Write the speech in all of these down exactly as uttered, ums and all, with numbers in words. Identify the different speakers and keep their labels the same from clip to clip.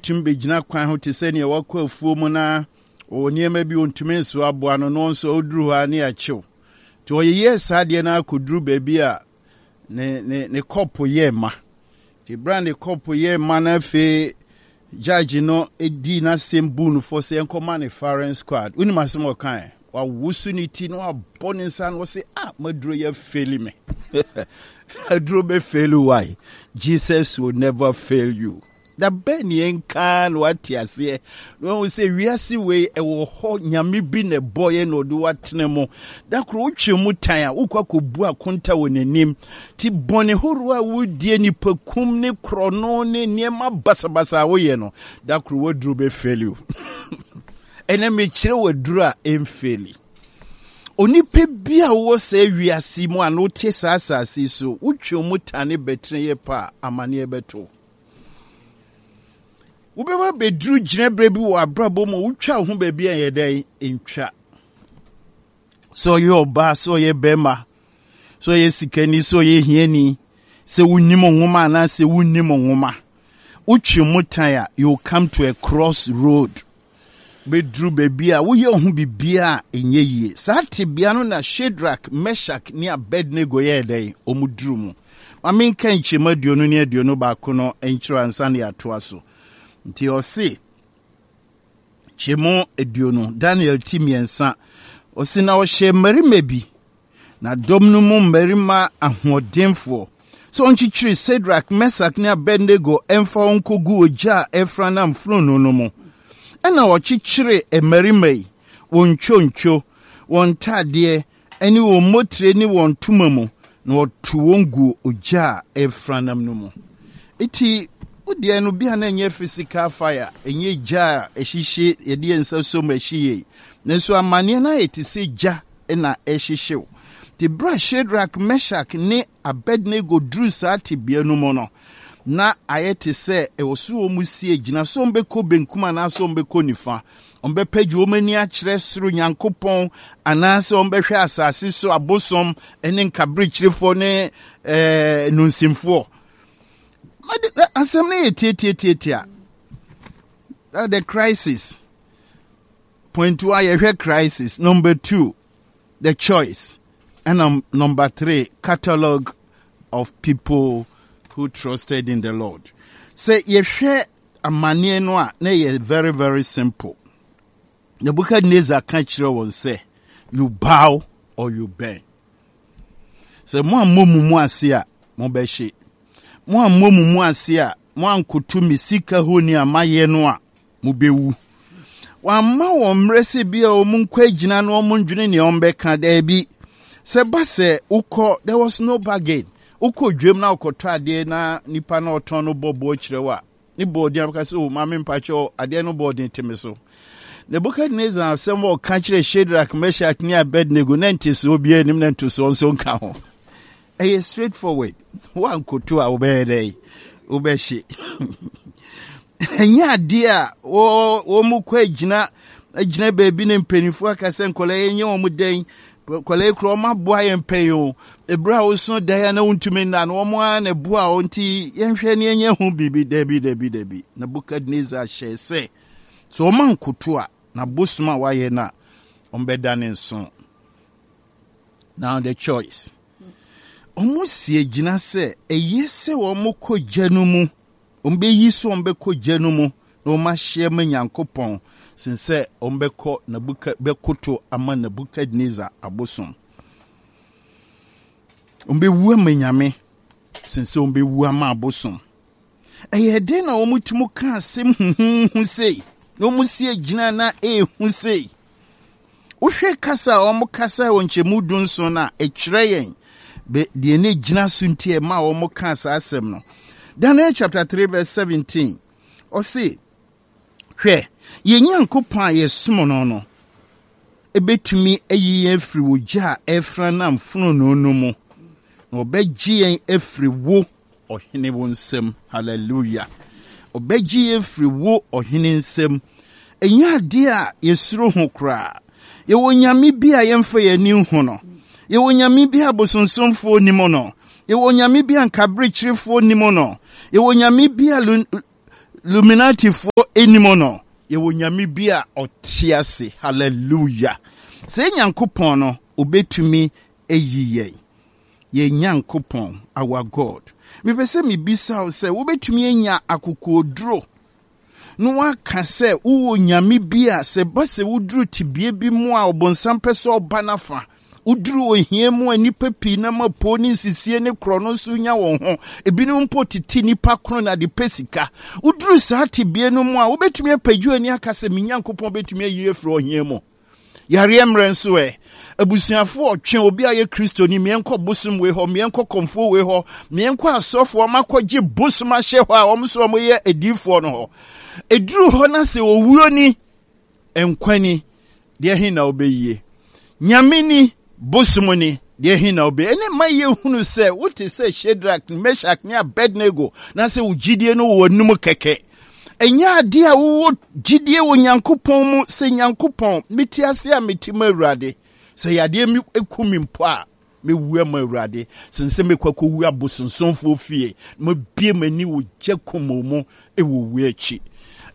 Speaker 1: tumi bɛgyina kwan ho te sɛ nea wakɔ afuo mu na ɔwɔ nneɛma bi ɔntumi nso aboa no, no nso ɔduru hɔ a ne yɛakyew. Nti ɔyeyɛɛ saa adeɛ no akɔduru baabi a ne ne ne kɔpo yɛɛ ma. Nti berɛ a ne kɔpo yɛɛ ma no, afei judge no dii n'asɛm buu no fɔ sɛ yɛnkɔma ne firing squad. Wonim asɛm a ɔkae? Wawoso ne ti na wabɔ ne nsa na ɔse, "Ah, maduro yɛ fail me." Aduro bɛ fail? Why? Jesus will never fail you. Da bɛn ne yɛnka na wate aseɛ na wahu sɛ wiase wei ɛwɔ hɔ, Nyame bi na ɛbɔeɛ na ɔde watene mu. Da koro wotwe mu tan a, wokɔ akɔbu akonta wɔ n'anim. Nti bɔne horoɔ a wodie, nipakum ne korɔno ne nneɛma basabasa a woyɛ no, da koro waduro bɛfail you. Ɛnɛ mekyerɛ waduro a ɛmfail. Onipa bi a wowɔ saa wiase mu a na wote saa asase yi so, wotwe mu tane bɛtene yɛ pa a, amanneɛ bɛto wobɛba bɛduru gyinaberɛ bi wɔ abrabɔ mu a wotwa wo ho baabi a yɛ dɛn ntwa. Sɛ ɔyɛ ɔbaa, sɛ ɔyɛ bɛrima, sɛ ɔyɛ sikani, sɛ ɔyɛ hiani, sɛ wonim nwoma anaasɛ wonnim nwoma, wotwe mu tan a, you come to a cross road. Bɛduru baabi a woyɛ wo ho biribiaa a ɛnyɛ yie. Saa tebea no na Shadrach, Meshach ne Abednego yɛɛ dɛn? Ɔmu duru mu. Ma menka nkyɛmu aduonu ne aduonu baako no nkyerɛ ansa ne yɛatoa so. Nti ɔse, kyɛmu aduonu, Daniel ti mmiɛnsa, ɔse, na ɔhyɛ mmarima bi na dɔm no mu mmarima ahoɔdenfoɔ sɛ ɔnkyekyere Sadrak, Mesak ne Abednego ɛmfa wɔn nkɔgu ogya a ɛfra nam fononoo no mu. Ɛna ɔkyekyere mmarima yi wɔn ntwontwo, wɔn ntadeɛ ne wɔn mmotire ne wɔn ntoma mu, na ɔto wɔn gu ogya a ɛfra nam no mu. Eti wodeɛ no bia na ɛnyɛ physical fire, ɛnyɛ gya a ɛhyehye yɛde yɛn nsa som ɛhye yie, nanso amanneɛ no ayɛ te sɛ gya na ɛhyehyew. Nti berɛ a Shadrach, Meshach ne Abednego duru saa tebea no mu no, na ayɛ te sɛ ɛwɔ so wɔn mu sie gyina so, wɔn bɛkɔ benkum anaasɛ wɔn bɛkɔ nifa, wɔn bɛpɛgye wɔn ani akyerɛ soro Nyankopɔn anaasɛ wɔn bɛhwɛ asase so abosom ne nkaberekyerefoɔ ne ɛɛ nunsimfoɔ. Asɛm no yɛ tietietietia. The crisis point one, yɛhwɛ crisis. Number two, the choice, and number three, catalog of people who trusted in the Lord. Sɛ yɛhwɛ amanneɛ no a, na yɛ very very simple. Nebuchadnezzar ka kyerɛ wɔn sɛ, "You bow or you burn." Sɛ mo ammɔ mu mu ase a, mobɛhye. Mo ammɔ mu mu ase a, mo ankoto me sika honi a mayɛ no a, mobɛwu. Wamma wɔn mmerɛ sɛ bi a wɔn nkɔ agyina na wɔn ndwene nea wɔn bɛka. Daabi, sɛ ba sɛ wokɔ, there was no bargain. Wokɔ dwam na wokɔtɔ adeɛ na nipa na ɔtɔn no bɔ boɔ kyerɛ wo a, ne bɔɔden abɛka sɛ, "O maame, mpakyɛw, adeɛ no bɔɔden te me so." Nebukadnezar asɛm a ɔka kyerɛ Shadrach, Meshach ne Abednego na ntesoɔ biara anim na ntosoɔ nso nka ho. Ɛyɛ straight forward. Woankoto a, wobɛyɛ dɛ wobɛhye. Ɛnyɛ adeɛ a wɔn mu kɔ agyina agyina baabi ne mpanimfoɔ aka sɛ nkɔla yɛnyɛ wɔn dɛn. Nkɔla yi kura wɔn aboa yɛn pɛn o. Ebere a woso dan a na wontumi nna no, wɔn ara na ɛboa wɔn, nti yɛnhwɛ ne yɛnyɛ ho biribi. Dabi, dabi, dabi. Nebukadnezar hyɛ sɛ sɛ wɔn ankoto a, na bosom a wayɛ no a, wɔn bɛda ne nso. Now the choice. Wɔn si agyina sɛ ɛyɛ sɛ wɔn kɔ gya no mu, wɔn bɛyi so, wɔn bɛkɔ gya no mu na wɔn ahyɛ ma Nyankopɔn sen sɛ wɔn bɛkɔ Nabuka bɛkoto ama Nebukadnezar abosom. Wɔn bɛwu ama Nyame sen sɛ wɔn bɛwu ama abosom. Ɛyɛ den na wɔn tumi ka asɛm huhuhu sei na wɔn si agyina na ehu sei. Wohwɛ kasa a wɔn kasa wɔ nkyɛmu du nson no a, ɛkyerɛ yɛn deɛ ne gyina so nti ɛma wɔn ka saa asɛm no. Daniel chapter three verse seventeen, ɔse, "Hwɛ, yɛn Nyankopɔn a yɛsom no no ebɛtumi ayi yɛn afiri wɔ gya a ɛfra nam fononoo no mu, na ɔbɛgye yɛn afiri wo ɔhene wo nsam." Hallelujah! Ɔbɛgye yɛn afiri wo ɔhene nsam. Ɛnyɛ adeɛ a yɛsuro ho koraa. Yɛwɔ Nyame bi a yɛmfa yɛn ani nhu no. Yɛwɔ Nyame bi a bosonsomfoɔ nim no. Yɛwɔ Nyame bi a nkaberekyerefoɔ nim no. Yɛwɔ Nyame bi a Illuminatifoɔ anim no, yɛwɔ Nyame bi a ɔte ase. Hallelujah. Sɛ Nyankopɔn no, obetumi ayi yɛn. Yɛn Nyankopɔn, our God. Mepɛ sɛ mebisa wo sɛ wobɛtumi anya akokoɔduro na waka sɛ wowɔ Nyame bi a sɛ ba sɛ woduru tebea bi mu a ɔbonsam pɛ sɛ ɔba n'afa, woduru ohia mu a nnipa pii nam apuo ne nsisie ne korɔ no nso nya wɔn ho, ebinom mpo tete nnipa kono na de pɛ sika, woduru saa tebea no mu a, wobɛtumi apagye ani aka sɛ me Nyankopɔn bɛtumi ayi afiri ohia mu? Yareɛ mmerɛ nso ɛ, abusuafoɔ ɔtwe obi a yɛ Kristoni, mmiɛnkɔ bosom wei hɔ, mmiɛnkɔ kɔmfoɔ wei hɔ, mmiɛnkɔ asɔfoɔ makɔgye bosom ahyɛ hɔ a wɔn nso wɔyɛ adiifoɔ no hɔ. Ɛduru hɔ na sɛ owuo ni, nkwa ni, deɛ he na wobɛyie? Nyame ni, bosom ni, deɛ he na wobɛyie? Ɛne ma yɛhunu sɛ wote sɛ Shadrach, Meshach ne Abednego, na sɛ wo gyidie no wɔ w'anum kɛkɛ. Ɛnyɛ adeɛ a wowɔ gyidie wɔ Nyankopɔn mu sɛ Nyankopɔn, mete ase a mete mu Awurade. Sɛ yadeɛ mi eku mi mpo a, mewu ama Awurade. Sen sɛ mekɔ akɔwu abosonsomfoɔ fie, na mabue m'ani wɔ gya kumoo mu wɔ owuo akyi.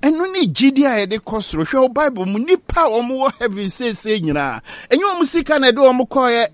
Speaker 1: Ɛno ne gyidie a yɛde kɔ soro. Hwɛ wo Bible mu, nnipa a wɔwɔ heaven seesei nyinaa, ɛnyɛ wɔn sika na ɛde wɔn kɔeɛ,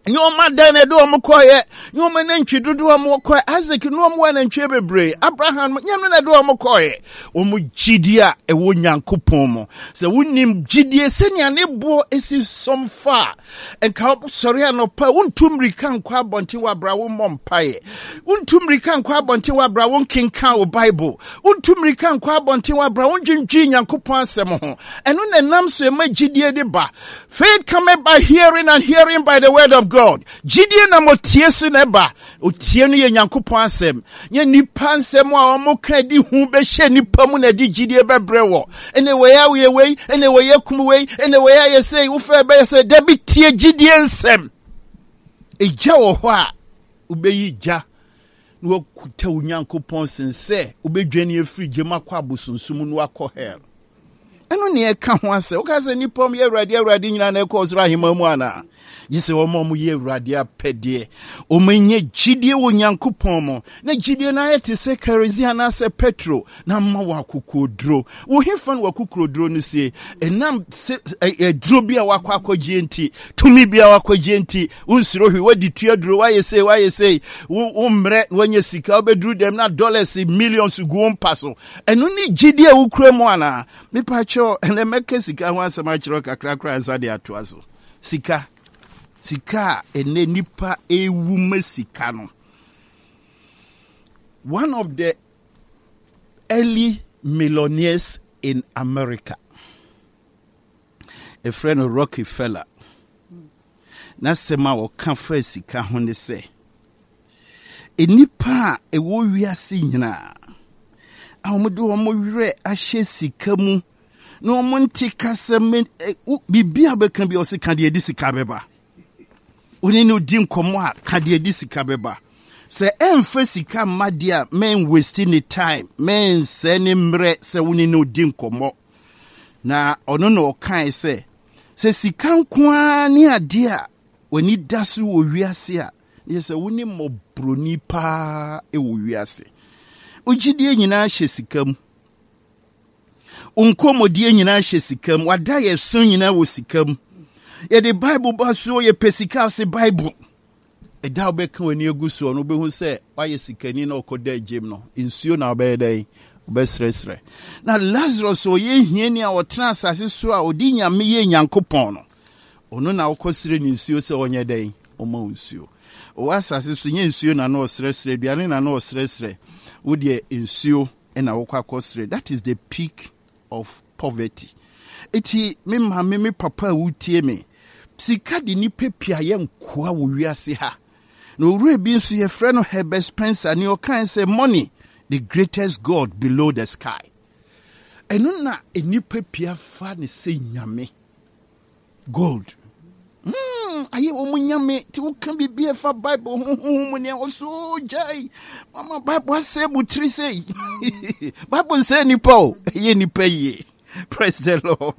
Speaker 1: nyɛ wɔn adan na ɛde wɔn kɔeɛ, nyɛ wɔn anantwi dodoɔ a wɔn kɔeɛ. Isaac ne wɔn wɔ anantwie bebree, Abraham nyɛ no na ɛde wɔn kɔeɛ. Wɔn gyidie a ɛwɔ Nyankopɔn mu. Sɛ wonim gyidie sɛnea ne boɔ esi sɔm fa a, nka sɔre anɔpa, wontu mmirika nkɔ abɔnten wɔ abra wo mmɔ mpaeɛ, wontu mmirika nkɔ abɔnten wɔ abra wo nkenkan wo Bible, wontu mmirika nkɔ abɔnten wɔ abra wo ndwendwen Nyankopɔn asɛm ho. Ɛno na ɛnam so ɛma gyidie de ba. Faith cometh by hearing, and hearing by the word of God. Gyidie nam otie so na ɛba. Otie no yɛ Nyankopɔn asɛm. Nyɛ nipa nsɛm a wɔn ka di hu bɛhyɛ nipa mu na ɛde gyidie bɛbrɛ wɔ. Ɛna wei awoyɛ wei, ɛna wei akum wei, ɛna wei ayɛ sei, wofɛ bɛyɛ sɛ. Dabi, tie gyidie nsɛm. Egya wɔ hɔ a wobɛyi gya na wakuta wo Nyankopɔn sen sɛ wobɛdwane afiri gyam akɔ abosonsom no akɔ hell. Ɛno ne ɛka ho asɛ. Woka sɛ nnipa ɔm yɛ Awurade Awurade nyinaa na ɛkɔ ɔsoro ahemman mu anaa? Gye sɛ wɔn a wɔyɛ Awurade apɛdeɛ, wɔanya gyidie wɔ Nyankopɔn mu, na gyidie no ayɛ te sɛ kerosene anaasɛ petro, na ama wɔ akokoɔduro. Wo hefa no w'akokoɔduro no sie? Ɛnam sɛ aduro bi a wakɔ akɔgyeɛ nti, tumi bi a wakɔgyeɛ nti, wonsuro hwee, wadi tua duro, wayɛ sei, wayɛ sei, wo mmerɛ na wanya sika, wobɛduru dɛm na dollars millions gu wo mpa so. Ɛno ne gyidie a wokura mu anaa? Mepa kyɛw, ɛnɛ mɛka sika ho asɛm akyerɛ kakra koraa nsa de atoa so. Sika, sika a ɛnɛ nipa ewu ma sika no. One of the early millionaires in America, ɛfrɛ no Rockefeller. N'asɛm a ɔka fa sika ho ne sɛ, nnipa a ɛwɔ wiase nyinaa a wɔde wɔn werɛ ahyɛ sika mu na wɔn nte kasa me biribi a bɛka bi a ɔse ka deɛ ɛde sika bɛba. Wone no di nkɔmmɔ a, ka deɛ ɛde sika bɛba. Sɛ ɛmfa sika mma deɛ a, mɛn waste ne time, mɛnsɛ ne mmerɛ sɛ wone no di nkɔmmɔ. Na ɔno na ɔkae sɛ, sɛ sika nko ara ne adeɛ a w'ani da so wɔ wiase a, yɛ sɛ wo ne mmɔborɔni paa wɔ wiase. Wo gyidie nyinaa hyɛ sika mu. Wo nkɔmmɔdie nyinaa hyɛ sika mu. Wada yɛ so nyinaa wɔ sika mu. Yɛde Bible ba so, yɛpɛ sika ase Bible. Ɛda a wobɛka w'ani agu soɔ no, wobɛhu sɛ woayɛ sikani na ɔkɔda agyem no, nsuo na wobɛyɛ dɛn? Wobɛsrɛsrɛ. Na Lazarus ɔyɛ hiani a ɔtena asase so a ɔde Nyame yɛ Nyankopɔn no, ɔno na wokɔsrɛ ne nsuo sɛ ɔnyɛ dɛn? Ɔma wo nsuo. Ɔwɔ asase so, nyɛ nsuo na na ɔsrɛsrɛ, aduane na na ɔsrɛsrɛ. Wo deɛ nsuo na wokɔ akɔsrɛ. That is the peak of poverty. Eti me maame, me papa a wotie me, sika de nipa pii ayɛ nkoa wɔ wiase ha. Na owura bi nso yɛfrɛ no Herbert Spencer, ne ɔkae sɛ money, the greatest god below the sky. Ɛno na nipa pii afa ne sɛ nyame. Gold. Mm, ayɛ wɔn nyame. Ti woka biribi a ɛfa Bible ho ho mu nea ɔso gyae. Mama Bible asɛ mu tiri sei. Bible nsɛ nipa o, ɛyɛ nipa yie. Praise the Lord.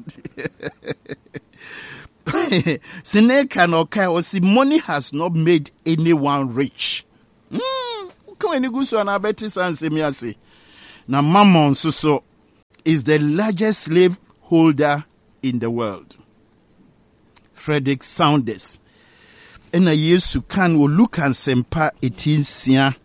Speaker 1: Seneca na ɔkae ɔsi money has not made anyone rich. Mm, woka w'ani gu so anaa bɛte saa nsɛm yi ase. Na Mammon nso so is the largest slave holder in the world. Frederick Saunders. Ɛna Yesu kan wɔ Luka Nsɛmpa eti nsia.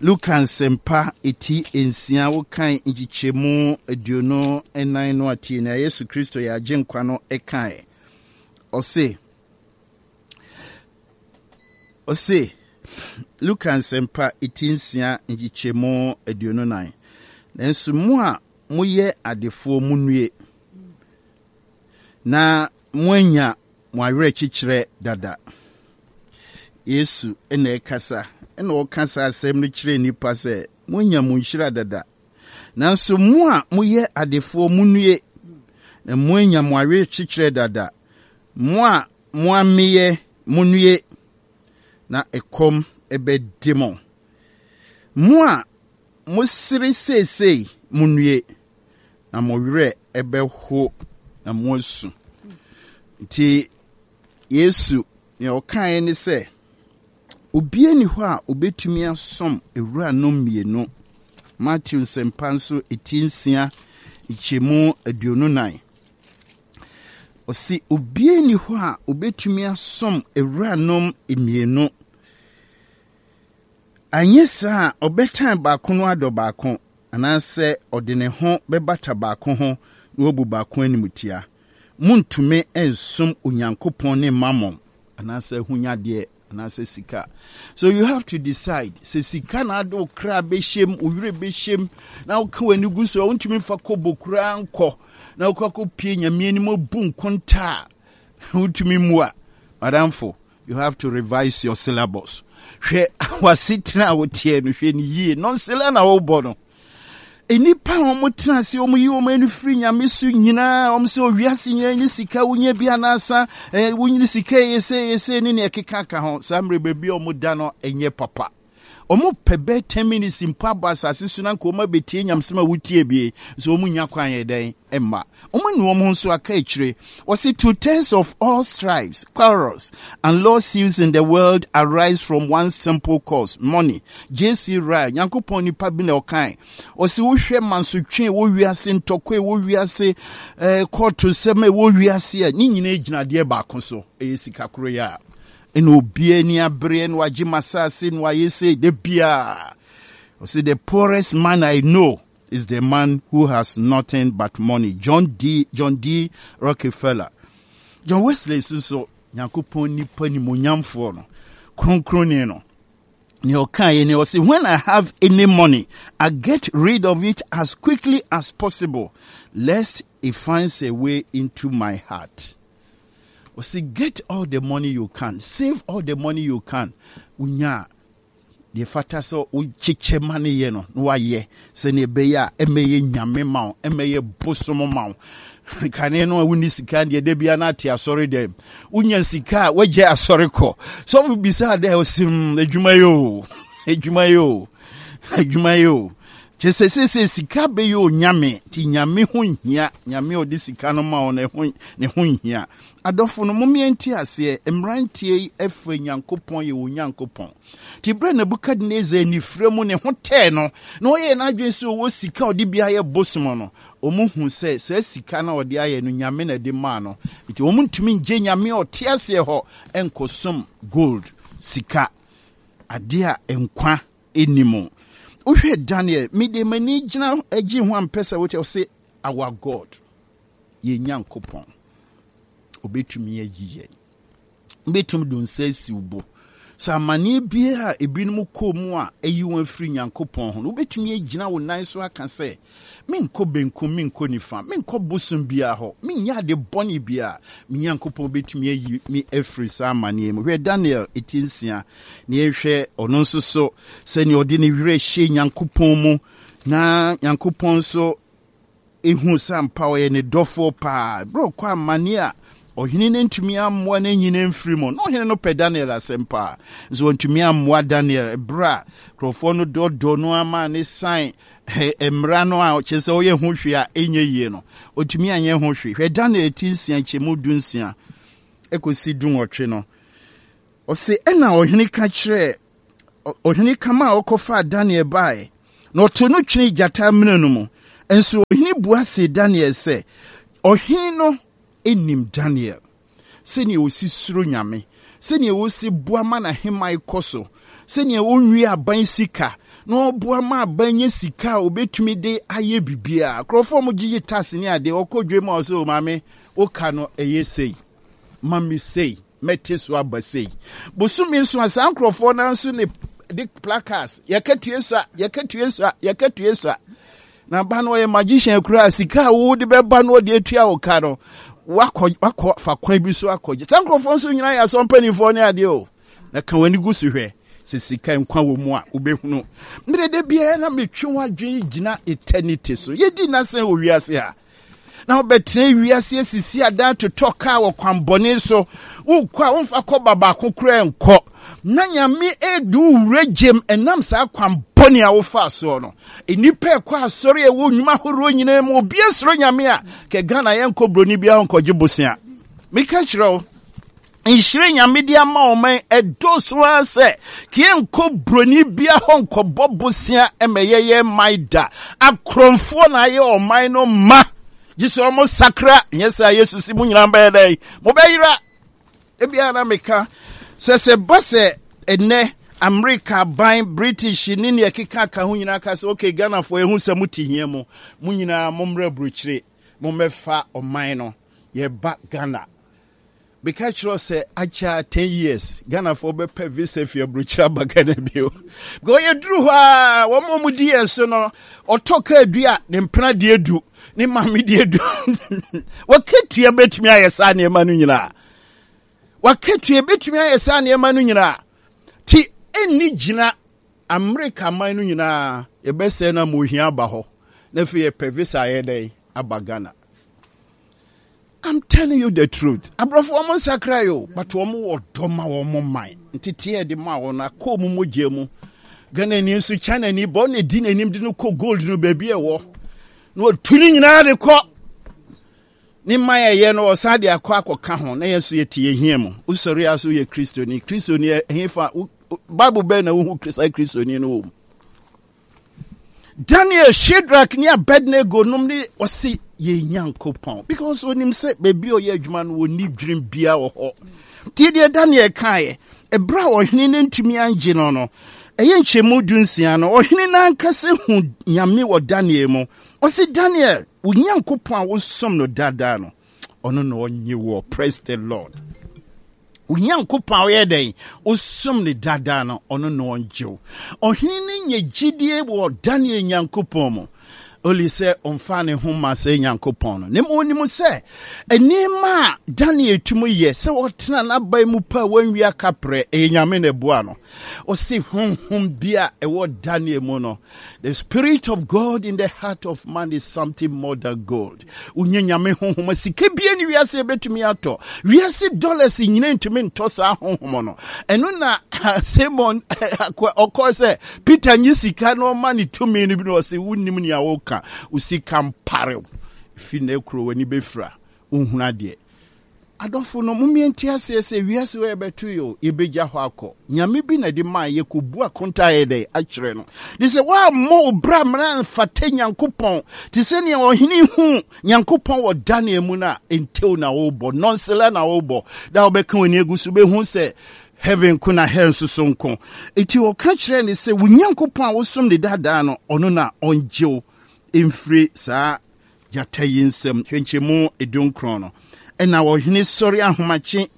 Speaker 1: Luka Nsɛmpa eti nsia, wokan nkyekyɛmu aduonu nnan no atie na Yesu Kristo yɛ Agyenkwa no ɛkae. Ɔse, ɔse, Luka Nsɛmpa eti nsia nkyekyɛmu aduonu nan. Nanso mo a moyɛ adefoɔ, munnue, na moanya mo awerɛkyekyerɛ dada. Yesu ɛna ɛkasa, ɛna ɔka saa asɛm no kyerɛ nnipa sɛ moanya mo nhyira dada. Nanso mo a moyɛ adefoɔ, munnue, na moanya mo awerɛkyekyerɛ dada. Mo a moameyɛ, munnue, na ɛkɔm ɛbɛde mo. Mo a mosere seesei, munnue, na mo werɛ ɛbɛho na moasu. Nti Yesu nea ɔkaeɛ ne sɛ obiara ni hɔ a obetumi asom ewuranom mmienu. Matthew Nsɛmpa nso eti nsia nkyɛmu aduonu nan. Ɔsi obiara ni hɔ a obetumi asom ewuranom mmienu. Anyɛ saa a, ɔbɛtan baako no adɔ baako, anaasɛ ɔde ne ho bɛbata baako ho na wabu baako animtia. Montumi nsom Onyankopɔn ne Mammon, anaasɛ ahonyadeɛ anaasɛ sika. So you have to decide sɛ sika na ade wo kra bɛhyɛm, wo werɛ bɛhyɛm, na woka w'ani gu so a wontumi mfa kɔbɔ koraa nkɔ na wokɔ akɔpie Nyame anim abu nkonta a wontumi mmu a, madamfo, you have to revise your syllabus. Hwɛ w'asetena a woteɛ no, hwɛ ne yie. Nɔnsela na wobɔ no. Nnipa a wɔn tena ase, wɔn yi wɔn ani firi Nyame so nyinaa, wɔn sɛ owiase nyinaa nye sika, wonya bi anaasa ɛɛ wonyini sika yɛ sɛ yɛ sɛ ne nea ɛkeka ka ho. Saa mmerɛ baabi a wɔn da no ɛnyɛ papa. Wɔn pɛ bɛɛ ten minutes mpo abɔ asase so na nka wɔn abɛtie nyamsɛm a wotie bie nso wɔn nya kwan yɛ dɛn mma wɔn anu wɔn ho nso aka akyire. Wɔsi two thirds of all strifes, quarrels and lawsuits in the world arise from one simple cause: money. J C. Ryle, Nyankopɔn nipa bi na ɔkan. Ɔsi wohwɛ mansotwe wɔ wiase, ntɔkwa wɔ wiase, ɛɛ kɔɔto nsɛm a ɛwɔ wiase a, ne nyinaa gyina adeɛ baako so, ɛyɛ sika koro yɛ a ɛna obiara ani abereɛ na wagye masase na wayɛ sɛ de biara. Ɔsi the poorest man I know is the man who has nothing but money. John D. John D. Rockefeller. John Wesley nso so, Nyankopɔn nipa nimonyamfoɔ no, kronkronni no, nea ɔkaeɛ ne ɔse, "When I have any money, I get rid of it as quickly as possible, lest it finds a way into my heart." Ɔse get all the money you can, save all the money you can. Wonya a, deɛ fata sɛ wokyekyɛ ma no yɛ no na wayɛ sɛnea ɛbɛyɛ a ɛmɛyɛ nyame ma wo, ɛmɛyɛ bosom ma wo. Kane no a wonni sika deɛ, da bia no ate asɔre dɛm. Wonya sika a, woagya asɔre kɔ. Sɔfo bisaa dɛ, ɔse mm, adwuma yi o, adwuma yi o, adwuma yi o. Kyɛ sɛ sɛsɛ sika bɛyɛ onyame nti Nyame ho nhia. Nyame a ɔde sika no ma wo no ne ho nhia. Adɔfo no, mommea nte aseɛ. Mmeranteɛ yi ɛfɛ Nyankopɔn yɛ wɔ Nyankopɔn. Nti berɛ Nebukadnezar anifirɛ mu ne ho tɛɛ no na ɔyɛɛ n'adwene sɛ ɔwɔ sika a ɔde bi ayɛ bosom no, ɔmo hu sɛ saa sika no a ɔde ayɛ no, Nyame na ɛde maa no. Nti ɔmo ntumi ngye Nyame a ɔte aseɛ hɔ nkɔsom gold, sika, adeɛ a nkwa ɛni mu. Wohwɛ Daniel, mede m'ani gyina agye ho ampɛ sɛ wote ɔse our God, yɛn Nyankopɔn, obɛtumi ayi yɛn. Wobɛtumi de nsa asi wo bo sɛ amanneɛ biara a ebinom kɔɔ mu a ɛyi wɔn afiri Nyankopɔn ho no, wobɛtumi agyina wo nan so aka sɛ menkɔ benkum, menkɔ nifa, menkɔ bosom biara hɔ, menyɛ ade bɔne biara, me Nyankopɔn bɛtumi ayi me afiri saa amanneɛ mu. Hwɛ Daniel ɛti nsia na yɛhwɛ ɔno nso so sɛnea ɔde ne werɛ hyɛ Nyankopɔn mu na Nyankopɔn nso ehu sɛ ampa ɔyɛ ne dɔfoɔ paa. Berɛ ɔkɔ amanneɛ a ɔhene no ntumi ammoa no anyina mfiri mu na ɔhene no pɛ Daniel asɛm paa nso wɔntumi ammoa Daniel. Berɛ a nkurɔfoɔ no dɔdɔ no ama ne san mmara no a kyerɛ sɛ ɔyɛ ho hwee a ɛnyɛ yie no, ɔtumi anyɛ ho hwee. Hwɛ Daniel ti nsia nkyɛmu du nsia ɛkɔsi du nwɔtwe no. Ɔse ɛna ɔhene ka kyerɛ ɔhene kama a ɔkɔfaa Daniel baeɛ Na ɔtoo no twenee gyata amena no mu. Nso ɔhene bua see Daniel sɛ, Ɔhene no nim Daniel, sɛnea ɔsi suro Nyame, sɛnea ɔsi boa ma n'ahemman kɔ so, sɛnea ɔnwie aban sika, na ɔboa ma aban nya sika a ɔbɛtumi de ayɛ biribiara. Nkurɔfoɔ a wɔgyegye tax ne adeɛ, ɔkɔ dwam a ɔsɛ, o maame, woka no ɛyɛ sei, ma me sei, mɛte so aba sei. Bosome nso a saa nkurɔfoɔ no nso ne de placards, yɛka sua, yɛka sua, yɛka sua. Na ba no ɔyɛ magician koraa, sika a wode bɛba no ɔde atua wo ka no, wakɔ wakɔ fa kwan bi so akɔgye. Saa nkurɔfoɔ nso nyinaa yɛ asɔ mpanimfoɔ ne adeɛ o. Na ka w'ani gu so hwɛ sɛ sika nkwa wɔ mu a wobɛhunu. Mmerɛ da biara na metwe w'adwene gyina eternity so. Yɛdi nnasɛn wɔ wiase ha. Na wobɛtena wiase asisi adan totɔ kaa wɔ kwanbɔne so. Wokɔ a womfa kɔba baako koraa nkɔ. Na Nyame edu wo wura gyem ɛnam saa kwanbɔne a wofaa soɔ no. Nnipa ɛkɔ asɔre a ɛwɔ nnwuma ahoroɔ nyinaa mu, obi asuro Nyame a, kɛ Ghana yɛnkɔ buroni biara nkɔgye bosea. Meka kyerɛ wo, nhyire Nyame de ama ɔman ɛdɔɔso ara sɛ yɛnkɔ buroni bia hɔ nkɔbɔ bosea ɛma yɛyɛ man da. Akorɔmfoɔ na ayɛ ɔman no ma. Gye sɛ ɔmo sakra, nyɛ sɛ Yesu si mo nyinaa bɛyɛ dɛn? Mobɛyera. Ebia na meka sɛ sɛ ba sɛ ɛnɛ Amerika ban, British ne nea ɛkeka ka ho nyinaa ka sɛ okay, Ghanafoɔ yɛhu sɛ mote hia mu, mo nyinaa mommrɛ aburokyire, mommɛfa ɔman no, yɛba Ghana. Meka kyerɛ sɛ akyɛ ten years Ghanafoɔ bɛpɛ visa fi aburokyire aba Ghana bio. Because yɛduru hɔ a wɔn a wɔdi yɛn so no, ɔtɔ kaa du a ne mpena deɛ du, ne maame deɛ du. Wakatua bɛtumi ayɛ saa nneɛma no nyinaa. Wakatua bɛtumi ayɛ saa nneɛma no nyinaa. Ti ɛnni gyina Amerika man no nyinaa yɛbɛsɛe no ama ohia aba hɔ. Na afei yɛpɛ visa ayɛ dɛn aba Ghana. I'm telling you the truth. Aborɔfo wɔn nsakra yi o, but wɔn wɔ dɔ ma wɔn man. Nteteɛ de ma wɔn akɔ wɔn mogya mu. Ghana ni nso China ni bɔ na edi n'anim de no kɔ gold no baabi ɛwɔ. Na wɔtu ne nyinaa de kɔ. Ne man ɛyɛ no ɔsan de akɔ akɔka ho na yɛn nso yɛte yɛn hia mu. Wosɔre a so yɛ Kristoni. Kristoni ɛhefa Bible bɛn na wohu saa Kristoni no wɔ mu? Daniel, Shadrach ne Abednego nom ne ɔse yɛn Nyankopɔn because onim sɛ baabi a ɔyɛ adwuma no wɔnni dwirim bia wɔ hɔ. Nti deɛ Daniel kaeɛ, ɛberɛ a ɔhene no ntumi angye no no, ɛyɛ nkyɛmu du nsia no, ɔhene no ankasa hu Nyame wɔ Daniel mu. Ɔse Daniel, wo Nyankopɔn a wosom no daadaa no, ɔno na ɔnye wɔ. Praise the Lord. Wo Nyankopɔn a ɔyɛ dɛn wosom ne daadaa no, ɔno na ɔngye wo. Ɔhene no nya gyidie wɔ Daniel Nyankopɔn mu. Oli sɛ ɔmfa ne ho ma sɛ Nyankopɔn no. Na mmom onim sɛ nneɛma a Daniel tumi yɛ sɛ ɔtena n'aban mu pa a wanwia kaprɛ, ɛyɛ Nyame na ɛboa no. Ɔse honhom bi a ɛwɔ Daniel mu no, the spirit of God in the heart of man is something more than gold. Wonye Nyame honhom a sika bia ne wiase ɛbɛtumi atɔ. Wiase dollars nyina ntumi ntɔ saa honhom no. Ɛno na Simon ɔkɔ sɛ Peter nye sika na ɔma ne tumi no bi na ɔse wonnim nea woka. Wo sika mparew. Fi na kuro w'ani bɛfira. Wohunu adeɛ. Adɔfo no, mommie nte aseɛ sɛ wiase wɔ yɛbɛto yi o, yɛbɛgya hɔ akɔ. Nyame bi na de maa yɛkɔbu akonta yɛ dɛn akyerɛ no. De sɛ woammɔ wo bra mmara mfata Nyankopɔn, te sɛ nea ɔhene hu Nyankopɔn wɔ Daniel mu no a, ntew na wobɔ, nɔnsela na wobɔ. Da wobɛka w'ani agu so bɛhu sɛ heaven ko na hell nso so nko. Enti ɔka kyerɛɛ ne sɛ, wo Nyankopɔn a wosom ne daadaa no, ɔno na ɔngye wo mfiri saa gyata yi nsam. Hwɛ nkyɛmu edunkron no. Ɛna ɔhene sɔre ahomakye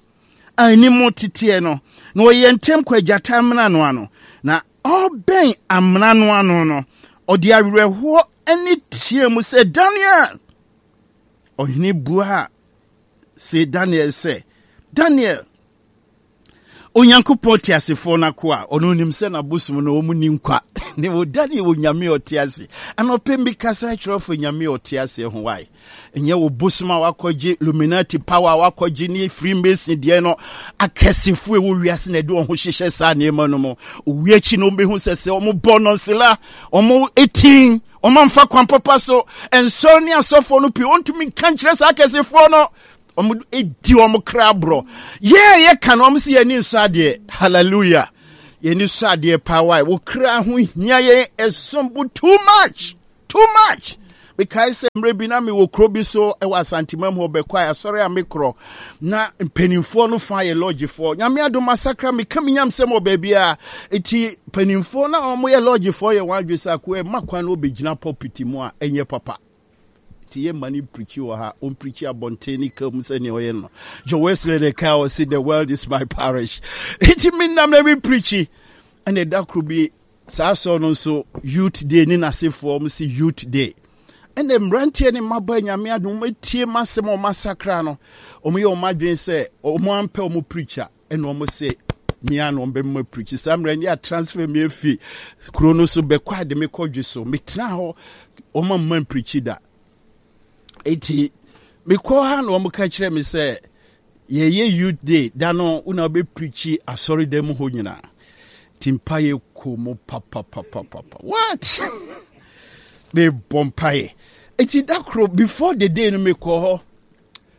Speaker 1: a anim teteɛ no, na ɔyɛ ntɛm kɔ agyata amena no ano. Na ɔbɛn amena no ano no, ɔde awerɛhoɔ ne teɛ mu sɛ, Daniel! Ɔhene buaa se Daniel sɛ, Daniel, Onyankopɔn teasefoɔ no akoa, ɔno onim sɛ n'abosom no wɔn ni nkwa. Ne wɔ Daniel wɔ Nyame a ɔte ase. Anɔpɛ mi kasa kyerɛ fo Nyame a ɔte ase ho wae. Ɛnyɛ wo bosom a wakɔgye Illuminati power a wakɔgye ne Freemason deɛ no akɛsefo ɛwɔ wiase na ɛde wɔn ho hyehyɛ saa nneɛma no mu. Owi akyi no wɔn bɛhu sɛ sɛ wɔn bɔ nɔnsela, wɔn etin, wɔn amfa kwan papa so. Nsɔre ne asɔfoɔ no pii wɔntumi nka nkyerɛ saa akɛsefoɔ no. Wɔn di wɔn kra borɔ. Yɛn a yɛka no wɔn si yɛn ani nsɔ adeɛ. Hallelujah. Yɛni sɔ adeɛ paa wae. Wo kra ho hia yɛn ɛsom bo too much. Too much. Mekae sɛ mmerɛ bi na mewɔ kuro bi so wɔ Asantemam hɔ bɛkɔ a asɔre a mekorɔ na mpanimfoɔ no fa yɛ lɔgyefoɔ. Nyame adom masakra meka me nyamsɛm wɔ baabi a eti mpanimfoɔ na wɔn yɛ lɔgyefoɔ yɛ wɔn adwene sɛ akoa ɛma kwan na ɔbɛgyina pulpit mu a ɛnyɛ papa. Nti yɛ ma no preachi wɔ ha, ɔmpreachi abɔnten ne ka mu sɛnea ɔyɛ no. John Wesley de ka ɔse the world is my parish. Nti menam na me preachi ɛna ɛda koro bi saa asɔre no nso youth day ne n'asefoɔ wɔn si youth day. Ɛna mmeranteɛ ne mmabaa Nyame adom wɔn atie m'asɛm a wɔn asakra no, wɔn yɛ wɔn adwene sɛ wɔn ampɛ wɔn preacher. Ɛna wɔn se me a na wɔn bɛma preach saa mmerɛ ne a transfer me afi kuro no so bɛkɔ ade me kɔ dwe so metena hɔ wɔn amma preach da eti mekɔ ha na wɔn ka kyerɛ me sɛ yɛyɛ youth day da no wo na wobɛ preach asɔre dan mu hɔ nyinaa ti mpaeɛ kɔ mu papapapapa what mebɔ mpaeɛ eti da koro before the day no mekɔ hɔ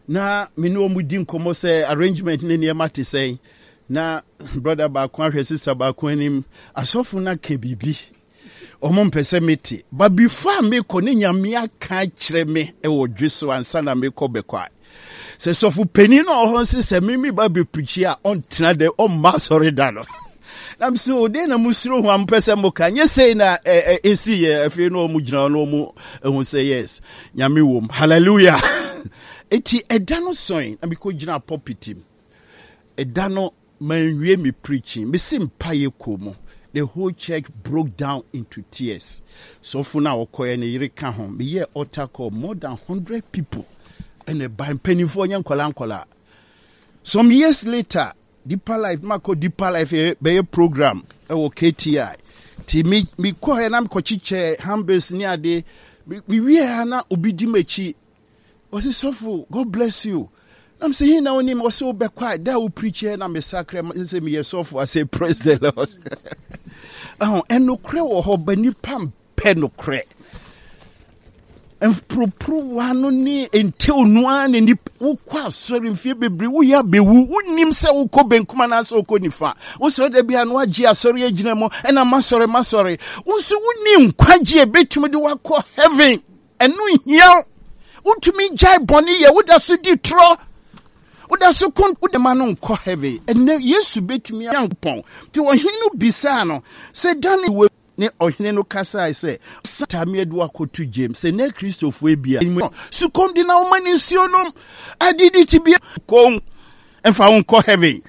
Speaker 1: na me ne wɔn di nkɔmmɔ sɛ arrangement ne nneɛma te sɛn na brother baako ahwɛ sister baako anim asɔfo no aka biribi wɔn mpɛ sɛ mete but before a mekɔ ne Nyame aka akyerɛ me wɔ dwe so ansa na mekɔ bɛkɔ a sɛ sɔfo panin no ɔhɔ nse sɛ me me ba bɛpirikyi a ɔntena dɛ ɔmma asɔre da no na mso o den na musuro ho a mopɛ sɛ moka nyɛ sei na ɛsi yɛ afei na ɔmo gyina hɔ na ɔmo ehu sɛ yes Nyame wom hallelujah eti ɛda no sɔn na mekɔ gyina pulpit mu ɛda no manwie me preaching mesi mpaeɛ kɔ mu the whole church broke down into tears sɔfo no a ɔkɔɛ ne yere ka ho meyɛ altar call more than hundred people ɛna ɛba mpanimfoɔ nyɛ nkɔla nkɔla some years later Deeper Life makɔ Deeper Life bɛyɛ program ɛwɔ K T I nti me mekɔɛ na mekɔkyekyɛ handbills ne ade mewie ha na obi di m'akyi ɔse sɔfo God bless you na mesɛ he na wonim ɔsɛ wobɛkɔ a da a wo preach na mesakra sɛ meyɛ sɔfo. I say praise the Lord. Ɛho ɛnokorɛ wɔ hɔ ba nipa mpɛ nokorɛ mporoporowa no ne ntew no ara na nipa wokɔ asɔre mfie bebree woyɛ abɛwu wonim sɛ wokɔ benkum anaasɛ wokɔ nifa wosɔre da bia no wagye asɔre agyina mu ɛna masɔre masɔre wo nso wonni nkwagye a ɛbɛtumi de wakɔ heaven ɛno nhia wotumi gyae bɔne yɛ woda so di torɔ woda so ko wode ma no nkɔ heaven ɛnɛ Yesu bɛtumi Nyankopɔn nti ɔhene no bisaa no sɛ Daniel ne ɔhene no kasae sɛ satame adu akɔto gyem sɛ nɛ Kristofoɔ bia sukɔm de na woma ne nsuo nom adidi ti bia kɔn ɛmfa wo nkɔ heaven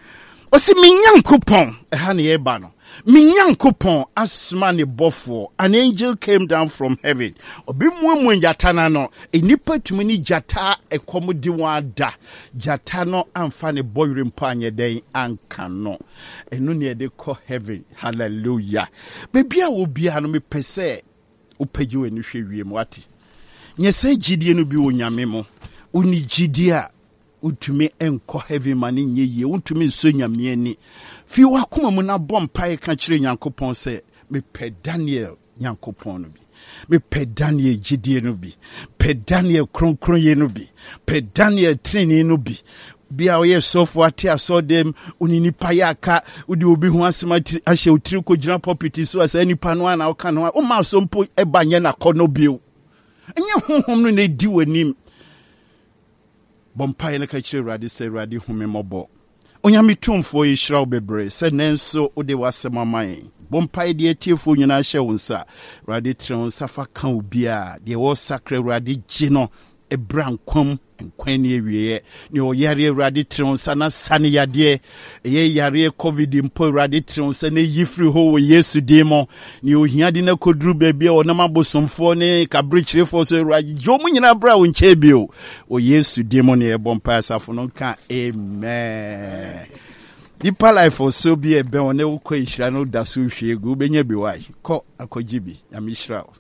Speaker 1: ɔsi me Nyankopɔn ɛha ne yɛba no me Nyankopɔn asoma ne bɔfoɔ. An angel came down from heaven ɔbɛmuamua gyata no ano nnipa tumi ne gyata ɛkɔm de wɔn ada gyata no amfa ne bɔwerɛ mpo anyɛ dɛn anka no ɛno ne yɛde kɔ heaven hallelujah baabi a wɔ biara no mepɛ sɛ wopagye w'ani hwɛ wiem wate nyɛ sɛ gyidie no bi wɔ Nyame mu wonni gyidie a wontumi nkɔ heaven ma ne nyɛ yie wontumi nsɔ Nyame ani fi w'akoma mu na bɔ mpaeɛ ka kyerɛ Nyankopɔn sɛ mepɛ Daniel Nyankopɔn no bi mepɛ Daniel gyidie no bi pɛ Daniel kronkronyɛ no bi pɛ Daniel tenenee no bi bia ɔyɛ sɔfo ate asɔdɛm wone nipa yɛ aka wode obi ho asɛm ahyɛ wo tiri kɔgyina pulpit so a saa nipa no a na woka no a woma asɔ mpo ɛba nyɛ nakɔ no bio ɛnyɛ honhom no na ɛdi w'anim bɔ mpaeɛ no ka kyerɛ Awurade sɛ Awurade hu me mmɔbɔ Onyame tumfoɔ yɛhyira wo bebree sɛ nnɛ nso wode w'asɛm ama yɛn bɔ mpaeɛ deɛ atiefoɔ nyinaa hyɛ wo nsa Awurade tene wo nsa fa ka wo biaa deɛ wɔsakra Awurade gye no ɛbra nkwam nkwan ne awieɛ ne ɔyare Awurade tene wo nsa na sa ne yadeɛ ɛyɛ yareɛ COVID mpo Awurade tene wo nsa na ɛyi firi hɔ wɔ Yesu din mu ne ohia de no akɔduru baabi a ɔnam abosomfoɔ ne kaberekyerefoɔ so Awurade gye ɔmu nyinaa berɛ a wo nkyɛn bio wɔ Yesu din mu ne yɛbɔ mpae asafo no nka amen. Deeper Life ɔso bi ɛbɛn wo ne wokɔ nhyira no da so hwie gu wobɛnya bi wae kɔ akɔgye bi Nyame hyira wo.